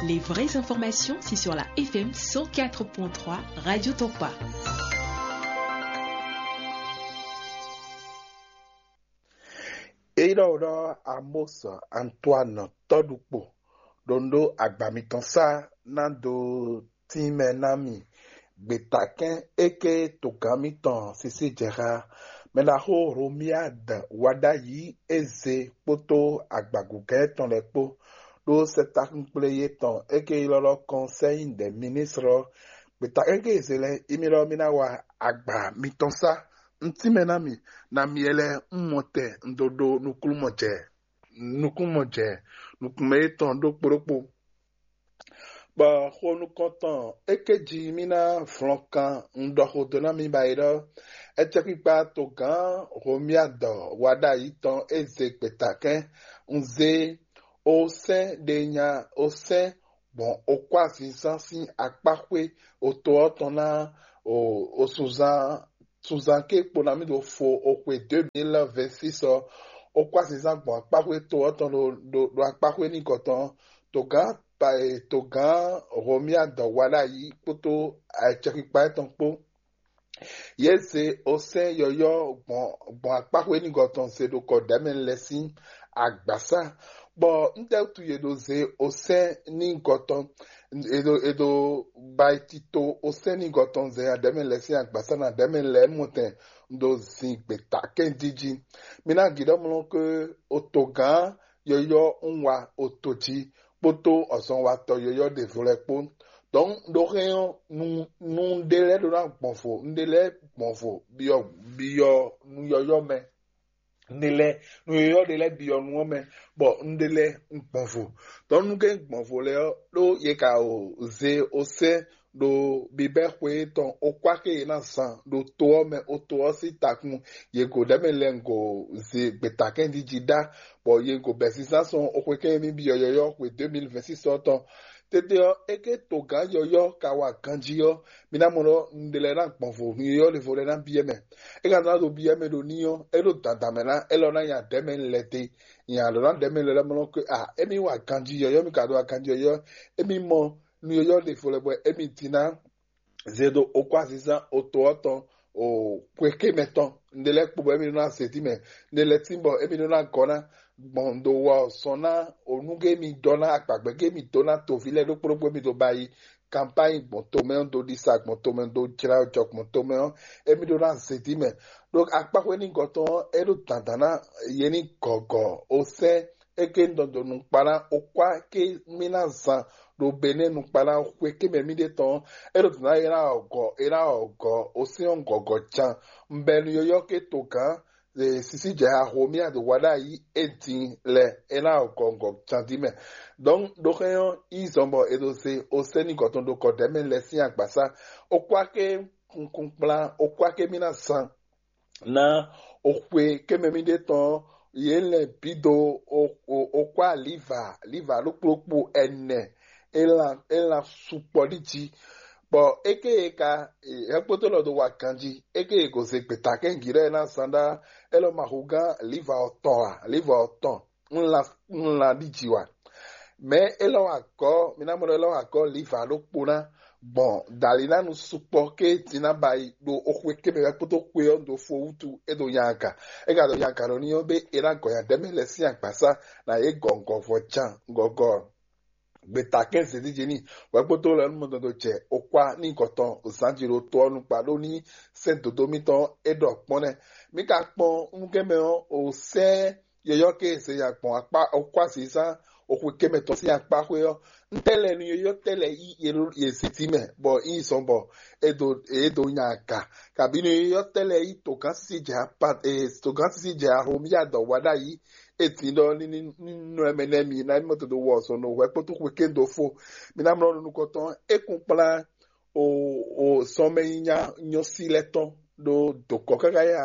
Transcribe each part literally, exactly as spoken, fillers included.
Les vraies informations, c'est sur la F M cent quatre point trois Radio Topa. Eyi ɖɔ ɖɔ Amos Antoine tɔɖukpo ɖo nɖó agba mitɔn sá ná dó tínmɛ ná mi. Gbětakɛ́n éké togán mitɔn Sisí Jɛxa, mɛɖaxó Romiad Waɖayi Eze kpódó agbagugɛ́ tɔn lɛ́ɛ kpó ɖó sɛ́tákúnkplé yětɔn éké ylɔ́ ɖɔ Conseil des Ministres. Gbětakɛ́n éké Eze lɛ́ɛ, émí ɖɔ mí ná wa agba mitɔn sá. Un tínmɛ ná mi, na mi lɛ́ɛ un mɔ tɛ un dó ɖó nukúnmɔjɛ nukúnmɔjɛ nukúnmɛ yětɔn ɖokpó ɖokpó. Bɔ xo nukɔntɔn éké jí mí ná vlɔn kan un ɖɔ xó dó ná mi ba yi ɖɔ, ɛcɛkpikpa togán Homiadɔ wa ɖ'ayǐ tɔn é zé gbětakɛ́n, un zé osɛ́n ɖe nya osɛ́n gbɔn okpázinzán sín akpáxwé oto ɔ́ tɔn ná o osunzán sunzán ké kpo ná mì ɖo fo o xwe deux mille vingt-six ɔ́, okpázinzán gbɔn akpáxwé to ɔ́ tɔn ɖo ɖo akpáxwé n'i gɔtɔn togán togán Homiadɔ wa ɖ'ayǐ kpódó acɛkpikpa étɔn kpó. Yě zé osɛ́n yɔ̌yɔ́ gbɔn gbɔn akpáxwé n'i gɔtɔn zé ɖo kɔ ɖɛ̌mɛ lɛ́ɛ sín agbǎsá, bɔ ntɛ́ wútu yě ɖo zé osɛ́n n'i gɔtɔn? È ɖo è ɖo ba yi tito osɛ́n n'i gɔtɔn zɛ adɛ̌mɛ lɛ́ɛ sín agbǎsá na adɛ̌mɛ lɛ́ɛ mɔtɛn ɖo zin gbětakɛ́n díjí. Mi ná gǐɖɔ́mlɔ́ ké otogán yɔ̌yɔ́ un wa oto jí kpódó ɔzɔnwatɔ́ yɔ̌yɔ́ ɖěvo lɛ́ɛ kpó. Dɔ̌n ɖo hɛn ɔ́, nu nu ɖé lɛ́ɛ ɖó ná gbɔn vo, nu ɖé lɛ́ɛ gbɔn vo byɔ́ byɔ́ nu yɔ̌yɔ́ mɛ. Un ɖe lɛ́ɛ nu yɔ̌yɔ́ ɖe lɛ́ɛ byɔ́ nu ɔ́ mɛ, bɔ un ɖe lɛ́ɛ un gbɔn vo. Dɔ̌n nu ke un gbɔn vo lɛ́ɛ ɔ́, ɖó yě ka o zé osɛ́ ɖo bibɛ́ xwe tɔn okpá ke yě ná zan ɖo to ɔ́ mɛ oto ɔ́ sín takun. Yě go ɖɛ̌ mɛ lɛ́ɛ un go zé gbětakɛ́n jí jí ɖá, bɔ yě go bɛ̌ sísán sɔn oxwe kɛ́n e mì byɔ́ yɔ̌yɔ́ xwe deux mille vingt-six ɔ́ tɔn. Tete ɔ́, é ké togán yɔ̌yɔ́ ka wa ganjí ɔ́, mi ná mɔ ɖɔ un ɖe lɛ́ɛ ná gbɔn vo, nu yɔ̌yɔ́ ɖěvo lɛ́ɛ ná byɔ́ mɛ. É ka ná ɖo byɔ́ mɛ ɖo ní ɔ́, é ɖo dandan mɛ ná élɔ́ ná nya ɖɛ̌ mɛ lɛ́ dé. Nya lɔ̌ ná ɖɛ̌ mɛ lɛ́ mɔ ɖɔ ké a émí wa ganjí yɔ̌yɔ́, mì ka ɖo aganjí yɔ̌yɔ́, émí mɔ nu yɔ̌yɔ́ ɖěvo lɛ́ɛ bɔ émí din ná zé ɖo okpázinzán oto ɔ́ tɔn o xwe ké mɛ tɔn. Un ɖe lɛ́ɛ kpo bɔ émí ɖó ná zé dí mɛ, un ɖe lɛ́ɛ tín bɔ émí ɖó ná gɔ́ ná gbɔn ɖo wɔ sɔn ná onú gé mi dɔ ná akpagbɛ gé mi dó ná toví lɛ́ɛ ɖokpó ɖokpó émí ɖó ba yi kampáyi gbɔn tomɛ ɔ́, dó ɖisa gbɔn tomɛ, dó jlá jɔ gbɔn tomɛ ɔ́, émí ɖó ná zé dí mɛ. Ɖó akpáxwé ní gɔtɔn ɔ́, é ɖó dandan ná yě ní gɔgɔ osɛ́ é ké un dɔn dó nukpa ná okpá ké mì ná zan ɖo Benɛ́ɛ nukpa ná xwe ké mɛ mì ɖe tɔn ɔ́, é ɖó dǒ ná é ná ɔgɔ é ná ɔgɔ osɛ́n ɔ́ gɔgɔ can. Un bɛ́ nu yɔ́yɔ́ ké togán sisi jɛ axo mì aɖo wa ɖ'ayǐ é din lɛ é ná ɔgɔ ɔgɔ can dín mɛ. Donc ɖó xɛn ɔ́ yí zɔn bɔ è ɖo se osɛ́n ní gɔtɔn ɖo kɔ ɖɛ̌ mɛ lɛ sín agbasá. Okpá ké kunkun kplán okpá ké mì ná zan ná oxwe kémɛ mì ɖe tɔn yě lɛ bǐ dó oxwa liva liva ɖokplokpo ɛnɛ elan elan sukpɔ ɖi jí. Bɔ éke e ka hɛkpótó lɔ dó wa ganjí éke e gǒzé gbeta kɛ́ngi ɖɔ é ná zán ɖá é lɔ ma hu gán liva ɔtɔn a liva ɔtɔn ńlá ńlá ɖi jí wa. Mɛ élɔ́ wa gɔ́ mi ná mɔ ɖɔ élɔ́ wa gɔ́ liva ɖokpó ná gbɔn dali ná nu sukpɔ ké din ná ba yi ɖo oxwe kémɛ wɛ kpódó xwe ɔ́ ɖo fo wútu é ɖo nyaga. É ka ɖo nyaga ɖo ní ɔ́ bé é ná gɔ nya ɖɛ̌ mɛ lɛ́ sín agbasá ná yě gɔ ŋgɔvɔ jan ŋgɔgɔ. Gbeta kɛ́n zědíjé ní wɛ kpódó lɛ nú mɔdɔdɔ jɛ okpá ní gɔtɔn zǎnjǐ ɖo to ɔ́ nukpa ɖó ní sɛ́n dodó mitɔn é ɖɔ kpɔ́n nɛ́. Mi ka kpɔn nukɛ́mɛ ɔ́ o sɛ́n yɔyɔ́ ké e se nya gbɔn akpá okpá zǐzán oxwe kémɛ tɔn sín akpá xwé ɔ́, ntɛ́ lɛ́ɛ nu yɔyɔ́ tɛ́ lɛ́ɛ yí yě zǐtí mɛ bɔ yí zɔn bɔ é dó é dó nya aga, kabí nu yɔyɔ́ tɛ́ lɛ́ɛ yí togán sísí jɛ apa togán sísí jɛ ahomya dɔ wa ɖ'ayǐ. É din ɖɔ ní ní nɔ ɛmɛ nɛ́ mi ná mɔ todo wɔ sɔ nɔ hwɛ kpótó xwe kéndo fo. Mi ná mlɔ nukɔntɔn é kún kplán o o sɔmɛ nyinya nyɔ́sí lɛ́ tɔn ɖo dokɔ káká nya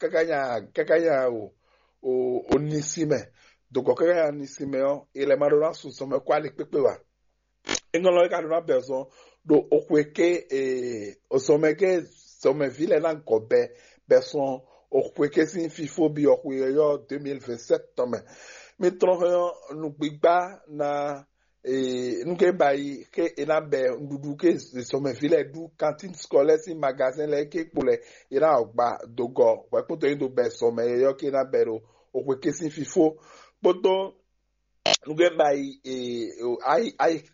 káká nya káká nya o o o nisi mɛ. Dokɔ káká nya nisi mɛ ɔ́, ilẹ̀ ma ɖó ná sun sɔmɛ kó ali kpékpé wa. Eŋlɔ é ka ɖó ná bɛ zɔn ɖo oxwe ké e ozɔmɛ ké zɔmɛví lɛ́ɛ ná gɔ bɛ bɛ sɔn oxwe ké sín fifó bi ɔxwe yɔyɔ́ deux mille vingt-sept tɔn mɛ. Mi tlɔn hɛn ɔ́, nǔgbígbá ná nú ké ba yi ké e ná bɛ nɖuɖu ké zɔmɛví lɛ́ɛ ɖu, kantín skɔlɛ́ sín magazɛn lɛ́ɛ ké kpo lɛ́ɛ e ná ɔgba dogɔ hwɛ̌kpótɔ nyi dó bɛ zɔmɛ yɔ́yɔ́ ké ná bɛ ɖo oxwe ké sín fífó kpódó nugé ba yi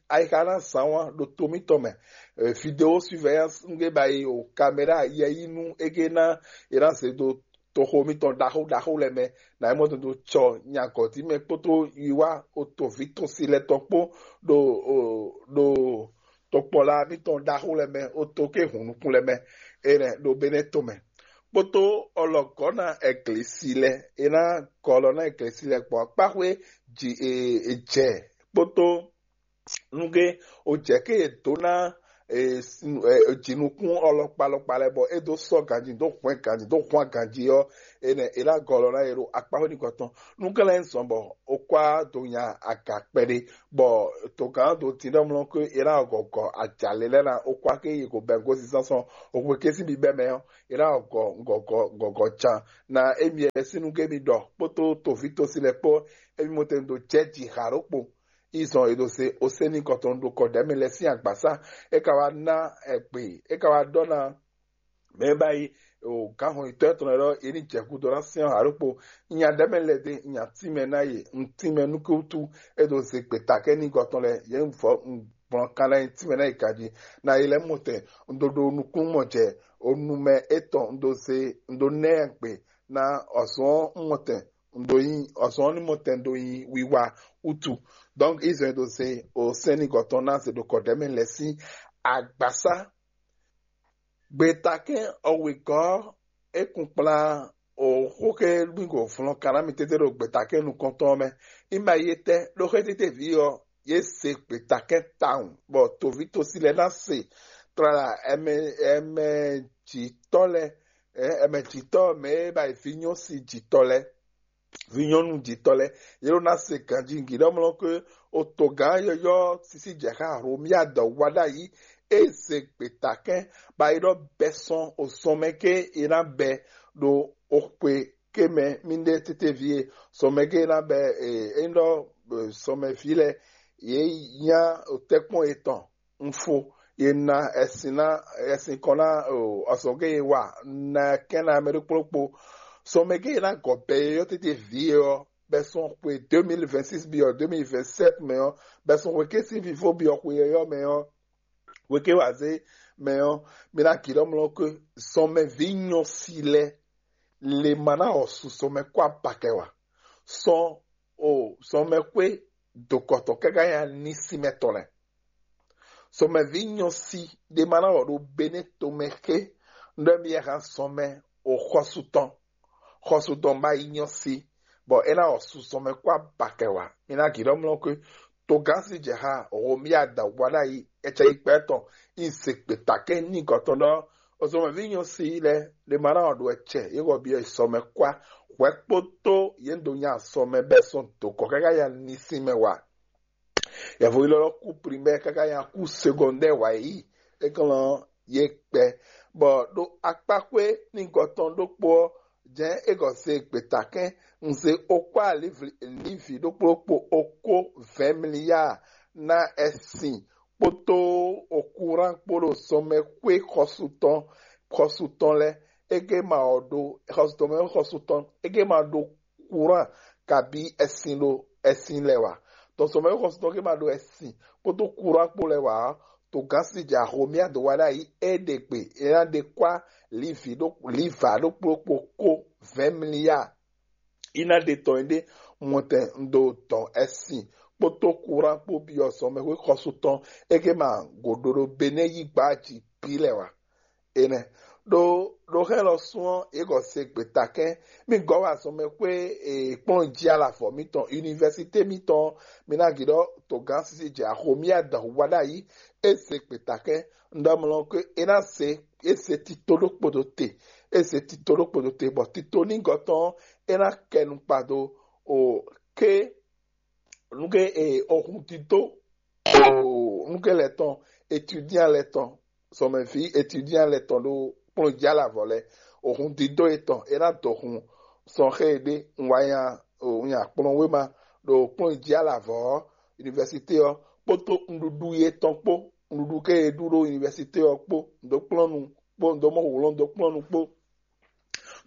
ayixa ná zán wá ɖo to mítɔn mɛ. Vidéo surveillance nugé ba yi o caméra yɛyínú égé ná e ná zé do toxo mítɔn ɖaxó ɖaxó lɛ́ɛ mɛ, ná é mɔ tɔn dó cɔ nyagɔ̌dí mɛ kpódó wiwa o toví tɔn si lɛ́ɛ tɔn kpó ɖo ɖo tokpɔla mítɔn ɖaxó lɛ́ɛ mɛ o to ké hun nukún lɛ́ɛ mɛ, enɛ ɖo Benɛ́ to mɛ. Kpódó ɔlɔgɔ́ ná ɛglisi lɛ́ɛ, e ná gɔlɔ ná ɛglisi lɛ́ɛ gbɔn akpáxwé jɛ kpódó nugé o jɛ ké e dó ná jǐnukún ɔlɔkpa lɔkpa lɛ́ɛ bɔ é dó sɔ́ ganjí dó hwɛ́n ganjí dó hwán ganjí ɔ́, enɛ è ná gɔlɔ ná yě ɖo akpáxwé nukɔn tɔn. Nukɛ́lɛ́ zɔn bɔ ó kwá do nya aga kpɛɖé, bɔ togán do dǐndɔ́mlɔ́ ké è ná gɔgɔ ajǎlɛ lɛ́ɛ ná ó kwá ké yi go bɛ́ gosín sánsɔn òxwe ké sín bibɛ́ mɛ ɔ́, è ná gɔgɔ gɔgɔ gɔgɔ can ná émi lɛ́ɛ sín nú ké mi ɖɔ kpódó toví tosi lɛ́ɛ kpó émi mɔtɛn do jɛ ji xa ɖokpo. Izɔn e ɖo se osénigɔtɔn ɖo kɔɖɛmɛ lɛ́ɛ sín agbasá, é ka wá ná ɛgbě, é ka wá ɖɔ ná mɛ e ba yi o gǎnhɔnyitɔ́ tɔn lɛ́ɛ ɖɔ é ní jɛ gúdo ná syɛ́n ǎ ɖokpó. Nya ɖɛ̌ mɛ lɛ́ɛ ɖe nya tínmɛ ná ye, un tínmɛ nú kútú. É ɖo ze gbětakɛ́ ní gɔtɔn lɛ́ɛ, yě un vɔ un gblɔn kan ná nyi tínmɛ ná yi ganjí. Na yi lɛ́ɛ mɔtɛn, un ɖo ɖo nukúnnú mɔ jɛ o nu mɛ étɔn, un ɖo ze un ɖo nɛ́ gbe ná ɔ̌zɔ́n mɔtɛn un ɖo nyi ɔ́ zɔn ní mɔtɛn ɖo nyi wiwa wútu. Donc Israɛl ɖo se o sɛ́n ní gɔtɔn ná se ɖo kɔɖɛmɛ lɛ́ɛ sín agbasá. Gbetakɛn ɔwegɔ́ é kun kplá o xóxé gbígbó flɔn kaná mi tete ɖo gbetakɛn nukɔntɔn mɛ. Ima yé tɛ ɖó xé tete ví ɔ́ yé se gbetakɛn tawun bɔ toví tosi lɛ ná se tlala ɛmɛ ɛmɛ jǐtɔ́ lɛ ɛmɛ jǐtɔ́ mɛ é ba yi vǐ nyɔ́ si jǐtɔ́ lɛ́ɛ, vǐ nyɔ́nu jǐtɔ́ lɛ́ɛ, yě ɖó ná se ganjí gǐɖɔ́mlɔ́ ké otogǎn yɔ́yɔ́ sísí jɛ xá Hlomia dɔ wá ɖ'ayǐ, é se gbetakɛ́n bɔ é ɖɔ bɛ́ sɔ́n osɔ́nmɛ ké é ná bɛ́ ɖo oxwe ké mɛ mì ɖe tétéví e sɔ́nmɛ ké é ná bɛ́ é nyí ɖɔ sɔ́nmɛví lɛ́ɛ yě nyá tɛ́kpɔ́n yětɔn un fo ye na ɛsin na ɛsin kɔn na ɔsɔgɛ ye wa na kɛn na mɛ ɖokpó ɖokpó. Sɔmɛ ke ye na gɔ bɛ ye yɔ tete vi ye ɔ bɛ sɔn xwe deux mille vingt-six bi ɔ deux mille vingt-sept mɛ ɔ bɛ sɔn xwe ke sin fifo bi ɔ xwe yɔyɔ mɛ ɔ xwe ke wa ze mɛ ɔ mi na ki ɖɔ mlɔ ke sɔmɛ vi nyɔ si lɛ le ma na ɔ su sɔmɛ kɔ abakɛ wa sɔn o sɔmɛ xwe dokɔtɔ kaka ya ni si mɛ tɔn lɛ. Sɔmɛví nyɔ si ɖe ma ná wɔ ɖo Benɛ́ tomɛ xé, ɖɔ mi yɛ hán sɔmɛ o xɔsu tɔn, xɔsu tɔn ba yi nyɔ si, bɔ é ná wɔ su sɔmɛ kó abakɛ wá. Mi ná gǐ ɖɔ mlɔ́ xwé, togán si jɛ ha Romia da wá ɖ'ayǐ, ɛcɛ yi kpɛ tɔn, yi se gbeta kɛn ní gɔtɔn ɖɔ, o sɔmɛví nyɔ si lɛ ɖe ma ná wɔ ɖo ɛcɛ, yě wɔ bi sɔmɛ kó hwɛ kpótó yě do nya sɔmɛ bɛ sɔn do kɔ káká ya ní sín mɛ wá. Yɛvo yi lɔ kú primɛ́ káká nyi akú segɔndɛ́ wǎ yi, é kɔn lɔ yě kpɛ, bɔ ɖo akpáxwé ní gɔtɔn ɖokpó ɔ́, jɛ̌n é gɔ se gbětakɛ́n, un se okpá Livi ɖokpó ɖokpó okó vɛ̌ mliya ná ɛsin kpódó okúrán kpó ɖo sɔmɛxwé xɔsu tɔn xɔsu tɔn lɛ́ɛ, é gé ma ɔ́ ɖó xɔsu tɔn mɛ xɔsu tɔn é gé ma ɖó kúrán kabí ɛsin ɖo ɛsin lɛ wá. Tɔn sɔmɛ xɔsutɔn ke ma ɖo ɛsin kpódó kúrán kpó lɛ wá ɔ́, to gán si jɛ axomia do wá ɖ'ayǐ é ɖe gbe é ná ɖe kwá livi ɖó liva ɖokpó ɖokpó kó vɛ̌ mliya. Í ná ɖe tɔn ɖé mɔtɛn ɖo dɔn ɛsin kpódó kúrán kpó byɔ́ sɔmɛxwé xɔsutɔn é ke ma gǒɖó ɖo Benɛ́ yí gbá jí bí lɛ wá. Enɛ ɖo ɖo xɛ lɔ sún ɔ́, yě gɔ se gbeta kɛn mì gɔ́ wa sɔmɛ xwé e kplɔ́n jí alavɔ mítɔn, université mítɔn, mi ná gǐ ɖɔ togán sisi jɛ axomí adɔn wá ɖ'ayǐ, é se gbeta kɛn un ɖɔ mlɔ ké é ná se é se tito ɖokpo ɖo te, é se tito ɖokpo ɖo te, bɔ tito ní gɔtɔn é ná kɛ nukpa do o ké nuke e ohun didó o nuke lɛ tɔn, étudiant lɛ tɔn, sɔmɛví étudiant lɛ tɔn ɖo kplɔn jí alavɔ lɛ, ohun didó etɔn é ná dɔ hun sɔn xé e ɖe un wá nya un nya kplɔn wéma ɖo kplɔn jí alavɔ ɔ́, univɛsité ɔ́ kpódó nǔɖuɖu yětɔn kpó, nǔɖuɖu ke è ɖu ɖo univɛsité ɔ́ kpó, nǔ dó kplɔ́n nu kpó, nǔ dó mɔ wǔlɔ́n dó kplɔ́n nu kpó,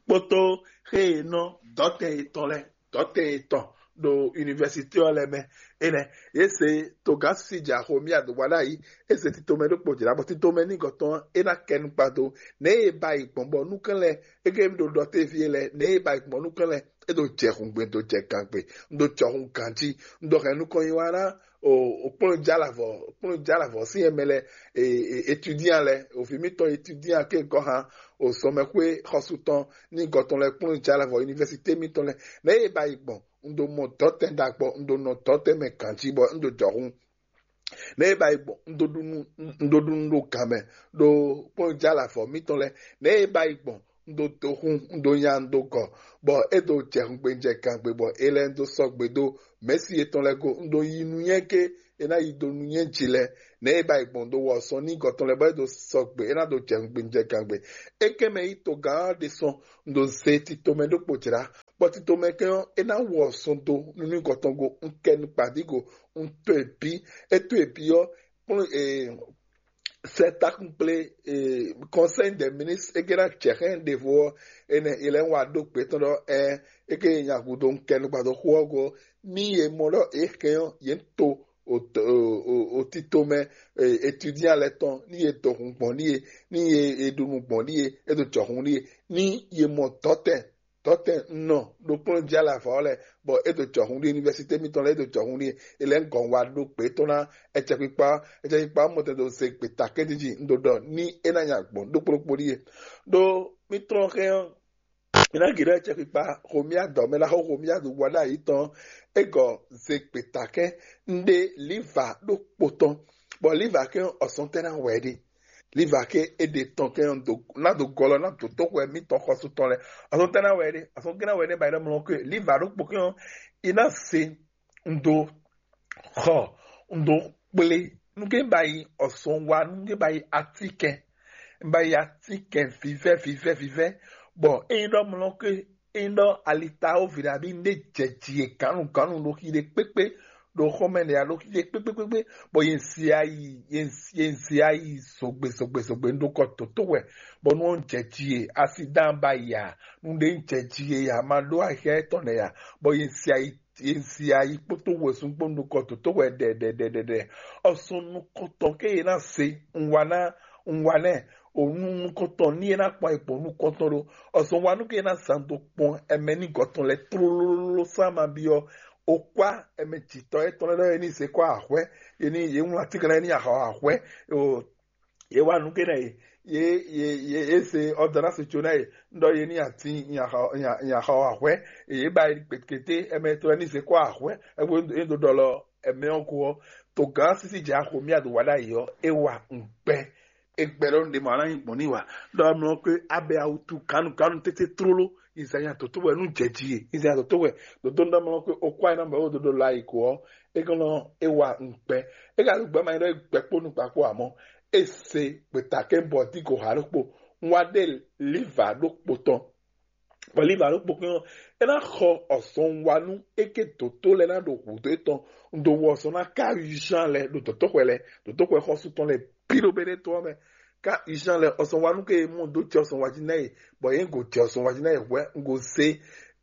kpódó xe e nɔ dɔ̌tɛn yětɔn lɛ́ɛ, dɔ̌tɛn yětɔn ɖo univɛsité ɔ́ lɛ́ɛ mɛ. Énɛ́ yě se togán sísí jɛ axo mì adǒgba ɖ'ayǐ, é se titomɛ ɖokpó jlá, bɔ titomɛ nígɔtɔn ɔ́, é ná kɛ nukpa dó. Nɛ̌ e ba yi gbɔn bɔ nukɛn lɛ́ɛ é ké ɖo ɖɔ téví lɛ́ɛ, nɛ̌ e ba yi gbɔn nukɛn lɛ́ɛ é ɖo jɛ hungbe, ɖo jɛ gangbe, un ɖo jɔhun ganjí, un ɖo hɛn nukɔn nyi wá ná o kplɔ́n jalavɔ kplɔ́n jalavɔ sín ɛmɛ lɛ, étudiant lɛ, òvǐ mítɔn étudiant ké gɔ́ hán o sɔmɛxwé xɔsutɔn ní gɔtɔn lɛ kplɔ́n jalavɔ université mítɔn lɛ. Nɛ̌ e ba yi gbɔn? Un ɖo mɔ dɔ̌tɛn ɖagbɔ, un ɖo nɔ dɔ̌tɛn mɛ ganjí bɔ un ɖo jɔhun. Nɛ̌ e ba yi gbɔn? Un ɖo ɖu nú un ɖo ɖu nú ɖo gan mɛ ɖo kplɔ́n jalavɔ mítɔn lɛ. Nɛ̌ e ba yi gbɔn? Un ɖo do hun, un ɖo nya, un ɖo gɔ, bɔ é ɖo jɛ hungbe jɛ gangbe, bɔ é lɛ́ un ɖó sɔgbe ɖó mɛ̌si yětɔn lɛ́ɛ go. Un ɖo yi nú nyɛ ké, é ná yi do nú nyɛ jí lɛ́ɛ. Nɛ̌ e ba yi gbɔn ɖo wɔ sɔn ní gɔtɔn lɛ́ɛ bɔ é ɖo sɔgbe, é ná ɖo jɛ hungbe jɛ gangbe. É kɛn mɛ yí togán ɔ́ ɖésɔn, un ɖo ze titomɛ ɖokpó jlá, bɔ titomɛ kɛn ɔ́, é ná wɔ sɔn dó nú ní gɔtɔn go. Un kɛ nukpa dí go, un to e bí, é to e bí ɔ́, kplɔ́n sɛ takun kplé, conseil des ministres é ké ná jɛ xɛn ɖěvo ɔ́, énɛ́ è lɛ́ wá ɖó gbě tɔn ɖɔ ɛ é ké nyi agudo un kɛ nukpa dó xó ɔ́ go. Ní yě mɔ ɖɔ é hɛn ɔ́, yě to o tito mɛ étudiant lɛ́ɛ tɔn, ní yě do hun gbɔn ní yě, ní yě ɖu nu gbɔn ní yě, é ɖo jɔhun ní yě, ní yě mɔ dɔ̌tɛn dɔ̌tɛn nɔ ɖo kplɔ́n jí alɛ avɔ ɔ́ lɛ́ɛ, bɔ é ɖo jɔhun ɖi université mítɔn lɛ́ɛ, é ɖo jɔhun ɖi. È lɛ́ gɔn wá ɖó gbě tɔn ná ɛcɛkpikpa, ɛcɛkpikpa mɔtɛn ɖo ze gbeta kɛ́dí jí. Un ɖo ɖɔ ní é ná nya gbɔn ɖokpó ɖokpó ɖíe. Ɖó mí tlɔ́n xɛ ɔ́, mí ná gǐ ɖɔ ɛcɛkpikpa xomí adɔ mɛ ná xɔ xomí aɖu wá ɖo ayǐ tɔn. É gɔ ze gbeta kɛ́ un ɖe liva ɖokpó tɔn, bɔ liva kɛ́ ɔ́, ɔsɔn tɛ́ ná wɛ ɖe. Liva ké é ɖe tɔn kɛ́ ɔ́ ná do gɔlɔ ná dǒdó xwɛ mítɔn xɔsú tɔn lɛ́ɛ. Azɔn tɛ́ ná wɛ ɖe? Azɔn gé ná wɛ ɖe ba yi ɖɔ mlɔ ké liva ɖokpó kɛ́ ɔ́, i ná se un dó xɔ, un dó kplé nú ké ba yi ɔsɔn wa, nú ké ba yi atínkɛn, ba yi atínkɛn vivɛ́ vivɛ́ vivɛ́. Bɔ é nyí ɖɔ mlɔ ké é nyí ɖɔ alitawo vǐɖabi un ɖé jɛ ji e gǎnnu gǎnnu ɖo xi ɖé kpékpé ɖo xɔmɛ ɖe alo xixé kpékpékpé, bɔ yě si ayi yě si ayi zogbe zogbe zogbe un ɖo kɔ dǒtó wɛ, bɔ nú ɔ́ jɛ ji e asidan ba ya nu ɖé jɛ ji e ya ma ɖó axɛ tɔn lɛ ya, bɔ yě si ayi yě si ayi kpótó wɛsún kpó un ɖo kɔ dǒtó wɛ ɖɛɖɛɖɛɖɛ. Ɔsɔn nukɔntɔn ké yě ná se un wa ná un wa nɛ o nu nukɔntɔn ní yě ná kpɔn ayǐ kpɔn nukɔntɔn ɖó. Ɔsɔn wa nú ké yě ná zan dó kpɔn ɛmɛ ní gɔtɔn lɛ tlólóló sán ma byɔ́. Okwá ɛmɛ jǐtɔ́ etɔn lɛ́ɛ ɖɔ yě ní zé kɔ ahwɛ, yě ní yě wlán atínkɛn lɛ́ɛ ní axɔ ahwɛ. Yě wá nǔ ké ná yě yě yě yě yě se ɔdɔnasi tso ná yě ɖɔ yě ní atín nyaxɔ ahwɛ. Yě ba yi kpekete ɛmɛ tɔn lɛ́ɛ ní zé kɔ ahwɛ. Ɛgbó é ɖo ɖɔ lɔ ɛmɛ ɔ́ ko ɔ́, to gǎn sísí jɛ axo mí aɖo wa ɖ'ayǐ ɔ́, é wa ŋgbɛ. É gbɛ ɖɔ nǔɖé ma ná nyí gbɔn n'i wa. Ɖɔ amlɔ ké abɛ awutu ganu ganu tete tlóló. Izaya dǒtó wɛ nú jɛ ji e Izaya dǒtó wɛ dǒtó nú amlɔ ké okó ayé ná mɛ wó dodo la yi ko ɔ́, é gɔn nɔ é wa ŋgbɛ. É ka ɖo gbɛ ma nyí ɖɔ é gbɛ kpó nukpa kpó amɔ. É se gbeta kɛ bɔ dí go ha ɖokpó. Un wa ɖe liva ɖokpó tɔn. Bɔ liva ɖokpó kɛn ɔ́, é ná xɔ ɔzɔn wa nú é ké dǒtó lɛ́ɛ ná ɖo hǔdó étɔn. Un ɖo wɔ ɔzɔn ná ká Jean lɛ́ɛ ɖo dǒtóxwɛ lɛ́ɛ, dǒtóxwɛ xɔ́sú tɔn lɛ́ɛ bǐ ɖo Bɛnɛ́to ɔ́ mɛ. Ká Jean lɛ́ɛ ɔzɔn wa nú ké mɔ dó jɛ ɔzɔn wa jí ná yě, bɔ yě go jɛ ɔzɔn wa jí ná yě hwɛ́ un go zé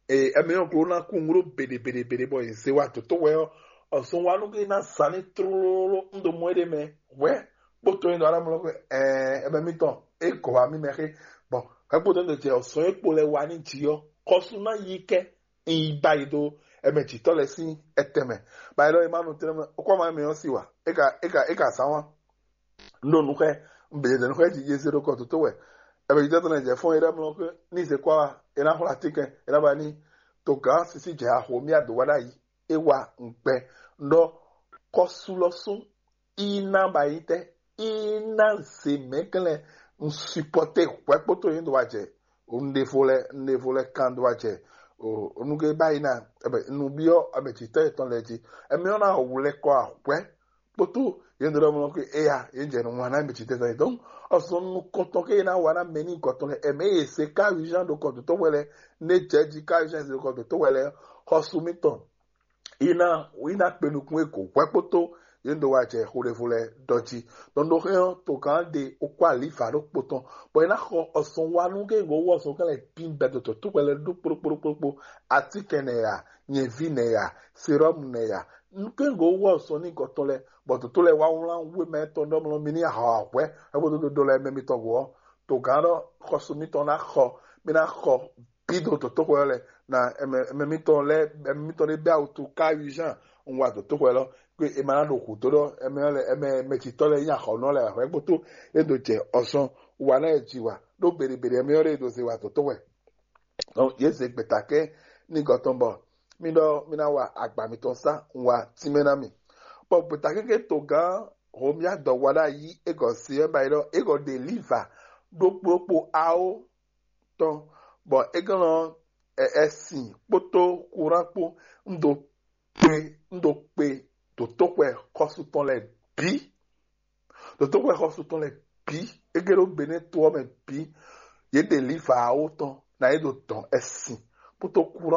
ɛmɛ ɔ́ glo ná kú un ɖó beɖe beɖe beɖe bɔ yě zé wa dǒtóxwɛ ɔ́. Ɔzɔn wa nú ké ná sa ní tlóló un ɖo mɔ é ɖé mɛ hwɛ́ kpótó é ɖɔ alámúlɔ xwe ɛɛ ɛmɛ mítɔn é gɔ̌ wá mí mɛ xé. Bɔn hwɛ̌ kpótó é ɖo jɛ ɔzɔn é kpo lɛ wa ní jǐ ɔ́, xɔsú ná yí kɛ un yi ba yi ɖó ɛmɛ jǐtɔ́ lɛ́ɛ sín ɛtɛn mɛ. Ba yi ɖɔ é má nɔ tlɛ́ mɛ, ó kɔ má mɛ ɔ́ sí wa, é ka é ka é ka zán wá. Un ɖo nu xɛ, un bɛ yɛdɛ nu xɛ jí yé zé ɖó kɔ dǒtó wɛ. Ɛmɛ jǐtɔ́ tɔn lɛ jɛ fɔ́n é ɖɔ mlɔ xwe ní zé kɔ wá, é ná xwlá tínkɛn, é ná ba ní to gǎn sísí jɛ axo mí adǒ wá ɖ'ayǐ. É wa ŋgbɛ ɖɔ kɔsú lɔ sún í ná ba yi tɛ í ná zé mɛ̌glɛ́ un supɔ́té hwɛ̌ kpótó yě dó wá jɛ un ɖevo lɛ un ɖevo lɛ kan dó wá jɛ o nugé báyìí ná. Ɛbɛ nubyɔ ɛbɛ jǐtɔ́ yětɔn lɛ jí. Ɛmɛ ɔ́ ná wlɛ́ kɔ ahwɛ kpótó yě dó ɖɔ mɔ kó éya yě jɛ nu wana ɛbɛ jǐtɔ́ yětɔn. Donc ɔsɔn nukɔntɔn ké yě ná wa ná mɛ ní gɔtɔn lɛ ɛmɛ yě se ká urgent ɖo kɔ dǒtó wɛ lɛ, né jɛ jí ká urgent ɖo kɔ dǒtó wɛ lɛ, xɔsu mítɔn Iná iná kpe nukún e kò hwɛ́ kpótó yě ɖo wá jɛ xo ɖěvo lɛ́ɛ ɖɔ jí. Nɔɖoxɛ́n ɔ́, togán ɖe okó alǐva ɖokpó tɔn, bɔ é ná xɔ ɔsɔn wa nú kéŋgó wɔ ɔsɔn kɛ́n lɛ́ɛ bǐ bɛ́ dotɔ tó hwɛ lɛ́ɛ ɖó kpóɖókpóɖókpó, atínkɛn nɛ ya, nyɛ̌ví nɛ ya, serɔ́mu nɛ ya, nú kéŋgó wɔ ɔsɔn n'i gɔtɔn lɛ́ɛ, bɔ dotó lɛ́ɛ wá wlán wéma tɔn ɖɔ mlɔ mi ní ahɔ ahwɛ hwɛ́ bó dó ɖo lɛ́ɛ mɛ mitɔn go ɔ́, togán ɖɔ xɔsu mitɔn ná xɔ, mi ná xɔ bǐ do dotó xwɛ ɔ́ lɛ́ɛ. Na ɛmɛ ɛmɛ mitɔn lɛ́ɛ ɛmɛ mitɔn ɖé bɛ awutu ká yuzán un wa dotó xwɛ lɔ, kpé è ma ná ɖo hǔ dó ɖɔ ɛmɛ ɔ́ lɛ ɛmɛ mɛjitɔ́ lɛ́ɛ nyí axɔnɔ lɛ́ɛ wɛ hwɛ́ kpótó é ɖo jɛ ɔsɔn wa ná yɛ ji wa ɖó beɖebeɖe ɛmɛ ɔ́ ɖé ɖo ze wa dotó xwɛ. Donc yě zě gbeta kɛ́n ní gɔtɔn bɔ mí ɖɔ mí ná wa agba mitɔn sá un wa tínmɛ ná mi. Bɔ gbeta kéké togán Homia dɔ wa ɖ'ayǐ é gɔ se ɔ́ ba yi ɖɔ é gɔ ɖe liva ɖokpóɖokpó awo tɔn, bɔ é gɔ́n ɛ ɛ sin kpódó kurán kpó. Un ɖo kpe un ɖo kpe dǒtóxwɛ xɔsu tɔn lɛ́ɛ bǐ, dǒtóxwɛ xɔsu tɔn lɛ́ɛ bǐ, é gé ɖó Benɛ́ to ɔ́ mɛ bǐ, yě ɖe liva awo tɔn ná yě ɖo dɔn ɛ sin kpódó kurán